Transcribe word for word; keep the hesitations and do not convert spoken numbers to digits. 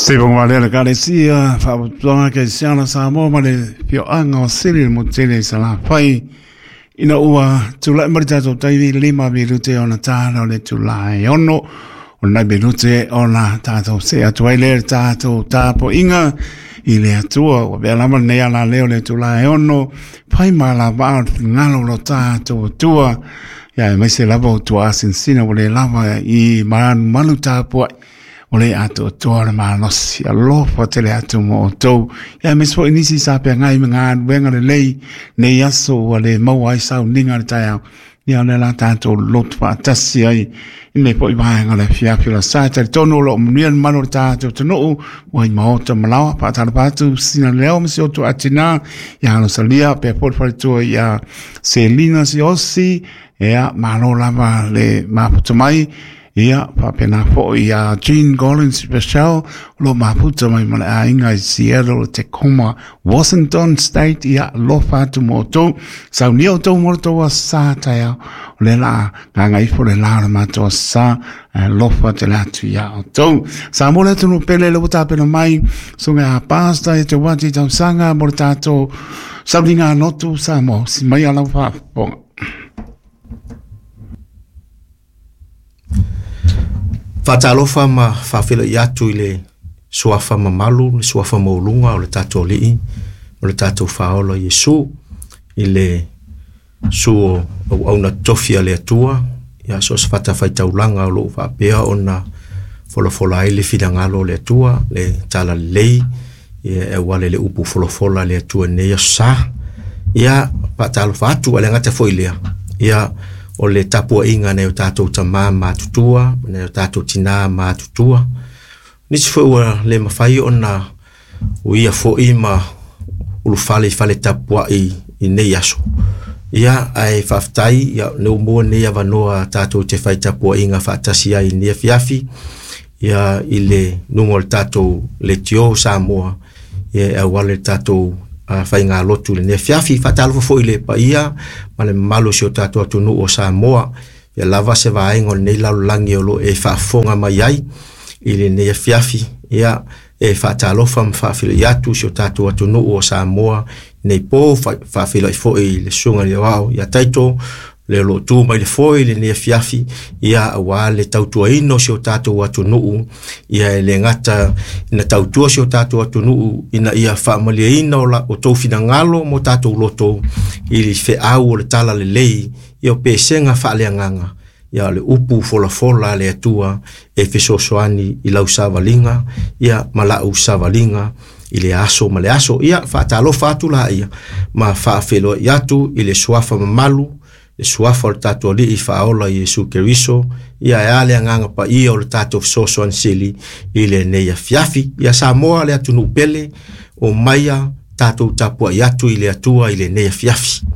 Se bonga le kalesia faapotopotoga kerisiano Samoa ma le fioaga o Sili le motele i Salafai ina ua tula'i ma le tatou taimi lima minute ona tala o le tulae ono o nai minute ona tatou se atu ai lea le tatou tapoiga i le Atua ua pea lava lenei alaleo le tulae ono fai ma lavaa o le finagalo o lo tatou Atua ia e maise lava o tuaasinasina ua lē lava i malumalu tapua'i o le atoatoa le malosi alofa tele atu mo outou ia aemaise foi nisi sa peagai ma galuega lelei nei aso ua le maua ai sauniga le taeao ia o lea la tatou lotu faatasi ai i lenei foi vaega o le afiafi o le sa talitonu o loo manuia le mamalu o le tatou atunuu ua i maota malaoa faatalofa atu sina leo ma si o tuaatinā ia alosalia pea foi le faletua ia Selina Siosi ia malo lava le mafuta mai ia faapena foi ia Jean Collins Special o lo mafuta mai ma le aiga i Seattle, Tacoma, Washington State ia alofa atu mo outou saunia outou mo le tou aso taeao o lea la gagaifo le la o le matou aso alofa tele atu ia outou Samoa le atunuu pele le ua tapena mai susuga a Pastor e te wati tausaga mo le tatou sauniga lotu Samoa si mai ala faafofoga. Faatalofa ma faafeiloai atu i le suafa mamalu, le suafa maualuga o le tatou Alii, o le tatou Faaola Iesu, i le susu o auauna tofi a le Atua, ia so o se fatafaitaulaga o loo faapea ona folafola ai le finagalo o le Atua, le talalelei, ia e auala i le upu folafola a le Atua i lenei aso sa. Ia faatalofa atu, a le gata foi lea, ia o le tapuaiga nai o tatou tamā matutua, nai o tatou tinā matutua. Nisi foi ua le mafai ona uia foi ma ulufale i fale tapuai i nei aso. Ia, ae faafetai, ia, ne ua maua nei avanoa tatou te fai tapuaiga faatasi ai i lenei afiafi, ia, i le luga o le tatou leitio Samoa, ia, e auala i le tatou uh, faigalotu i lenei afiafi. Faatalofa foi i le paia ma le mamalu o si o tatou atunuu o Samoa, ia lava se vaega o lenei lalolagi o loo e faafofoga mai ai i lenei afiafi. Ia, e faatalofa ma faafeiloai atu si o tatou atunuu o Samoa nei po, faafeiloai foi i le susuga i le Aoao ia Taito, le o loo tu mai le foe i lenei afiafi, ia aua le tautuaina o si o tatou atunuu, ia e le gata ina tautua si o tatou atunuu ina ia faamalieina o, la, o tou finagalo mo tatou loto i le feau o le talalelei, ia o pesega faaleagaga, ia o le upu folafola a le Atua e fesoasoani i lau savaliga, ia ma lau savaliga i le aso ma le aso. Ia faatalofa atu la ia ma faafeiloai atu i le suafa mamalu, le suafa o le tatou Alii Faaola Iesu Keriso, ia e a le agaga paia o le tatou fesoasoani sili i lenei afiafi. Ia Samoa le atunuu pele, o maia tatou tapuai atu i le Atua i lenei afiafi.